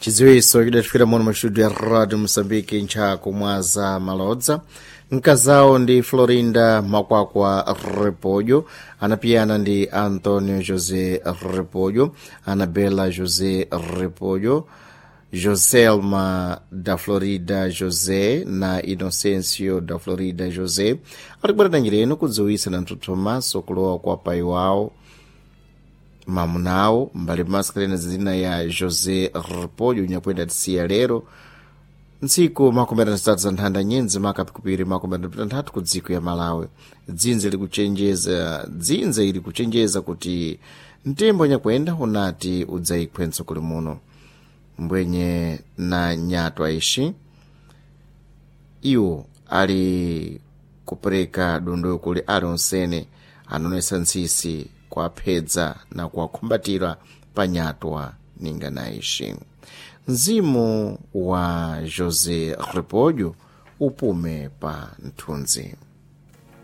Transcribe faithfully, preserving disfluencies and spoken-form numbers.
Chidziwitso chidatifika muno mu studio ya Radio Mosambiki nchakumwaza malodza. Mkazawo ndi Florinda Makwakwa Repollo, anapiyana ndi Antonio José Repollo, Anabela José Repollo, Joselma da Florida José na Inocencio da Florida José alikubwerera njira kudziwitsa na mthuthumaso kulowa kwa pai wawo mamunawo mbali pamasikilene zina ya José Repollo nyakwenda tisiya lero ntsiku makumi atatu za nthanda nyenzi makapikupiri makumi atatu ku dziko ya Malawi. Dzinze likuchenjeza dzinze ili kuchenjeza kuti mtembo nyakwenda unati udzayikhwe mtsogolo muno mbwenye na nyatwa ixi iwo ali kupereka dondo kuli alionsene anonesa ntsisi kuaphedza na kuwakhumbatira pa nyatwa ninga na ixi. Mzimu wa José Repollo upume pa nthunzi.